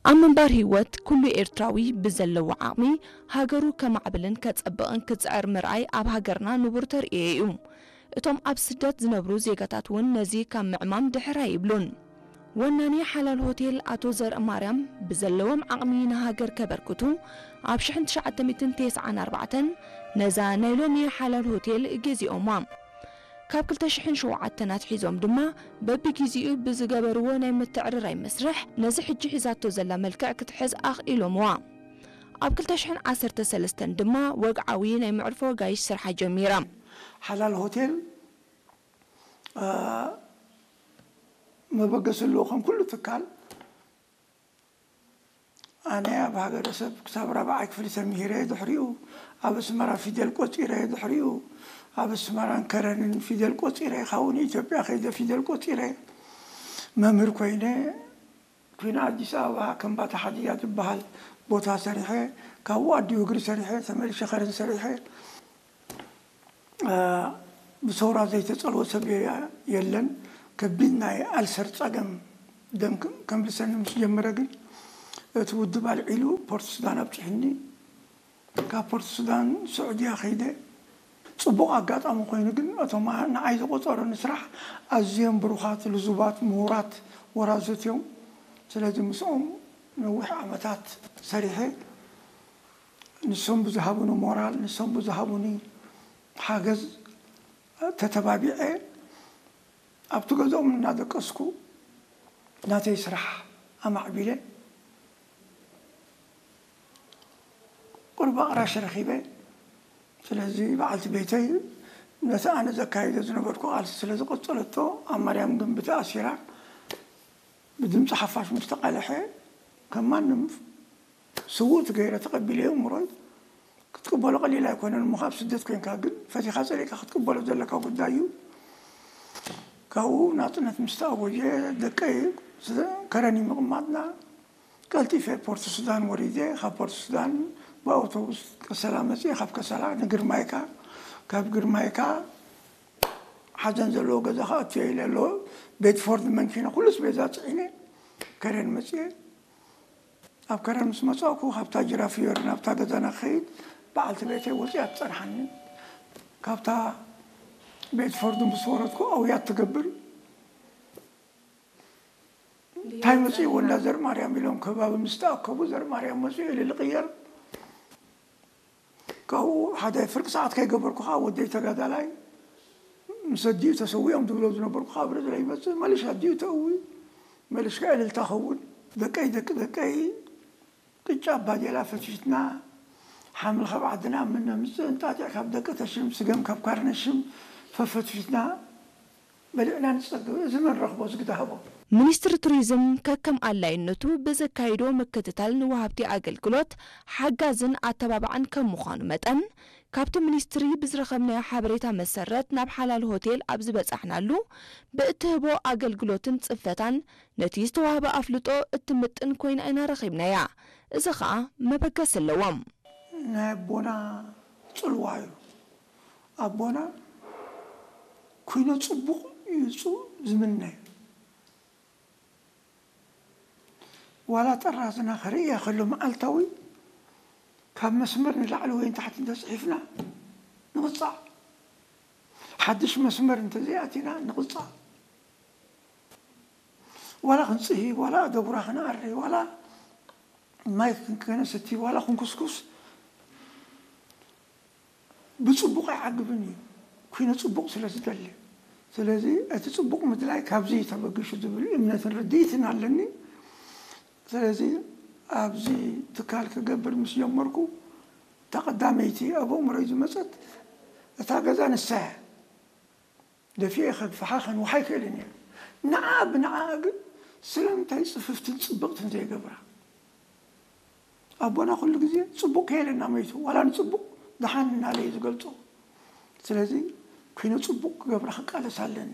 ኣብ ምንባር ህይወት ኩሉ ኤርትራዊ ብዘለዎ ዓቕሚ ሃገሩ ከማዕብልን ከጸብቕን ክጽዕር ምርኣይ ኣብ ሃገርና ንቡር ተርእዮ እዩ። እቶም ኣብ ስደት ዝነብሩ ዜጋታት እውን ነዚ ካብ ምዕማም ድሕር ኣይብሉን። ወናኒ ሓላል ሆቴል ኣቶ ዘርእ ማርያም ብዘለዎም ዓቕሚ ንሃገር ከበርክቱ ኣብ ሽሕን ትሽዓተ ሚእትን ተስዓን ኣርባዕተን ነዛ ናይ ሎሚ ሓላል ሆቴል ገዚኦማ። ካብ ክልተ ሽሕን ሸውዓተን ኣትሒዞም ድማ በብግዜኡ ብዝገበርዎ ናይ ምትዕርራይ መስርሕ ነዚ ሕጂ ሒዛቶ ዘላ መልክዕ ክትሕዝ ኣኽኢሎምዋ። ኣብ ክልተ ሽሕን ዓሰርተ ሰለስተን ድማ ወግዓዊ ናይ መዕርፎ ኣጋይሽ ስርሓ ጀሚራ። ሓላል ሆቴል መበገሲ ኣለዎ ከም ኩሉ ትካል። ኣነ ኣብ ሃገረሰብ ክሳብ ራብዓይ ክፍሊ ተምሂረ፣ ድሕሪኡ ኣብ ኣስመራ ፊደል ቆጺረ፣ ድሕሪኡ ኣብ ኣስመራን ከረንን ፊደል ቆጺረ፣ ካብኡ ንኢትዮጵያ ከይደ ፊደል ቆጺረ፣ መምህር ኮይነ፣ ኩን ኣዲስ ኣበባ ከም ባታ ሓዲያ ዝበሃል ቦታ ሰሪሐ፣ ካብኡ ኣዲ ወግሪ ሰሪሐ፣ ተመልሸ ከረን ሰሪሐ። ብሰውራ ዘይተጸልወ ሰብ የለን። ከቢድ ናይ ኣልሰር ጸገም ደም ከምልሰኒ ምስ ጀመረ ግን እቲ ውድብ ኣልዒሉ ፖርት ሱዳን ኣብጽሑኒ። ካብ ፖርት ሱዳን ስዑድያ ከይደ። ጽቡቕ ኣጋጣሚ ኮይኑ ግን እቶም ንዓይ ዝቆጸሩኒ ስራሕ ኣዝዮም ብሩኻት፣ ልዙባት፣ ምሁራት ወራዙት እዮም። ስለዚ ምስኦም ነዊሕ ዓመታት ሰሪሐ። ንሶም ብዝሃቡኒ ሞራል፣ ንሶም ብዝሃቡኒ ሓገዝ ተተባቢዐ ኣብቲ ገዝኦም እናደቀስኩ ናተይ ስራሕ ኣማዕቢለ ቁርብ ኣቕራሽ ረኺበ። ስለዚ በዓልቲ ቤተይ ነቲ ኣነ ዘካይዶ ዝነበርኩ ቃልሲ ስለ ዝቐጸለቶ ኣብ ማርያም ግንቢ ተኣሲራ ብድምፂ ሓፋሽ ምስ ተቓለሐ ከም ማንም ስውእቲ ገይረ ተቐቢለዮ እምሮይ ክትቅበሎ ቀሊል ኣይኮነን እሞ ካብ ስደት ኮይንካ ግን ፈቲኻ ጸሊእካ ክትቅበሎ ዘለካ ጉዳይ እዩ። ካብኡ ናጽነት ምስ ተኣወጀ ደቀይ ከረኒ ምቕማጥና ቀልጢፈ ፖርት ሱዳን ወሪደ ካብ ፖርት ሱዳን ብኣውቶቡስ ከሰላ መጽየ ካብ ከሰላ ንግርማይካ ካብ ግርማይካ ሓዘን ዘለዎ ገዛ ክኣቱ እየ ኢለ ኣሎ ቤድፎርድ መንኪና ኩሉ ስቤዛ ጽዒነ ከረን መጽየ ኣብ ከረን ምስ መጻእኩ ካብታ ጅራፍዮር ናብታ ገዛና ክኸይድ በዓልቲ ቤተይ ወጺኣ ትጸንሓኒ። ካብታ ቤድፎርድ ምስ ወረድኩ ኣውያት ትገብር እንታይ መጽእዎ እንዳ ዘርማርያም ኢሎም ከባቢ ምስ ተኣከቡ ዘርማርያም መጽኡ ኢሉ ልቕየር ካብኡ ሓደ ፍርቂ ሰዓት ከይገበርኩ ከዓ ወደይ ተጋዳላይ ምስ ኣዲኡ ተሰዊኦም ዝብሎ ዝነበርኩ ከዓ ብርዝለ ይመፅእ መለሽ ኣዲኡ ተእዊ መለሽ ከዓ እልልታ ኸውን ደቀይ ደቂ ደቀይ ቅጫ ባዴላ ፈትፊትና ሓምሊ ካብ ዓድና ምነምፅእ እንጣጢዕ ካብ ደቂ ተሽም ስገም ካብ ካርነሽም ፈፈትፊትና በሊዕና ንጸግብ እዚ መን ረኽቦ ዝግዳ ሃቦ። ሚኒስትሪ ቱሪዝም ከከም ኣላይነቱ ብዘካይዶ ምክትታል ንወሃብቲ ኣገልግሎት ሓጋዝን ኣተባባዕን ከም ምዃኑ መጠን ካብቲ ሚኒስትሪ ብዝረኸብናዮ ሓበሬታ መሰረት ናብ ሓላል ሆቴል ኣብ ዝበጻሕናሉ ብእትህቦ ኣገልግሎትን ጽፈታን ነቲ ዝተዋህበ ኣፍልጦ እትምጥን ኮይና ኢና ረኺብናያ። እዚ ኸኣ መበገሲ ኣለዎም። ናይ ኣቦና ጽልዋ እዩ። ኣቦና ኩነ ጽቡቕ እዩ ዝምነ። ዋላ ጠራዝና ክርእያ ከሎ መዓልታዊ ካብ መስመር ንላዕሊ ወይ ንታሕቲ እንተጽሒፍና ንቕጻዕ። ሓድሽ መስመር እንተዘይኣቲና ንቕጻዕ። ዋላ ክንጽሂ፣ ዋላ ኣደጉራ ክንኣሪ፣ ዋላ ማይ ክንከነሰቲ፣ ዋላ ክንኩስኩስ ብጽቡቕ ኣይዓግብን እዩ። ኩነ ጽቡቕ ስለ ዝደሊ። ስለዚ እቲ ጽቡቕ ምድላይ ካብዚ ተበጊሹ ዝብል እምነትን ርድኢትን ኣለኒ። ስለዚ ኣብዚ ትካል ክገብር ምስ ጀመርኩ ተቐዳመይቲ ኣብ ኣእምሮይ ዝመጸት እታ ገዛ ንሳ እያ። ደፊኤ ከግፍሓ ከንውሓ ኣይክእልን እየ። ንዓ ብንዓኣ ግን ስለምንታይ ጽፍፍትን ጽብቕትን ዘይገብራ? ኣቦና ኩሉ ግዜ ጽቡቕ ከየለና መይቱ ዋላ ንጽቡቕ ደሓን እናለ እዩ ዝገልጾ። ስለዚ ኩነ ጽቡቕ ክገብራ ክቃለስ ኣለኒ።